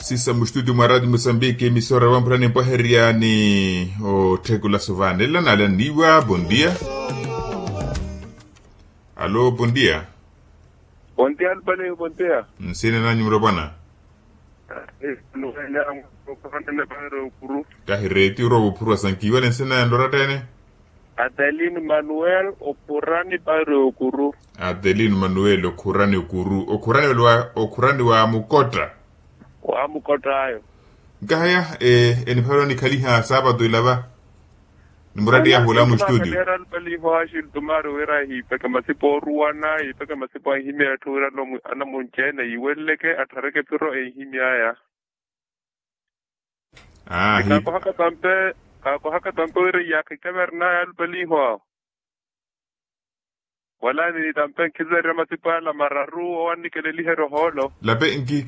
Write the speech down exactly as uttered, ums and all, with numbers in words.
Sisa mustudio mwa radio mosambiki emisora wampurani mpwaherya ni otthekula suvani ela nalaniwa bondia. Alo bondia. Bondia alupaleyo bondia. Nsina nanyu mulopwana? Kahi reti orowa ophurwa sankiwale nsina nanyu nlorattene. Adelino manuel okhurani pari okuru. Adelino manuel okhurani okuru okhurani wa okhurani wa mukotta. Wa mukotta ayo. Nkahaya enipharo nikhaliha saapatu ilava. Ni muratti yahula mustudio. Era lupaliho ashiltumari wira hipeke masipa oruwana hipeke masipa anhimya etthu wira anamunci ene yiweleleke atthareke phiro enhimyaya. Aa hi. Kakohaka tampe kakohaka tampe wira iyakha ikavernaya alupaliho awo. Wala ni tampe nkhizeerya masipa ala mararu owannikeleliherya ohoolo. Lape nki.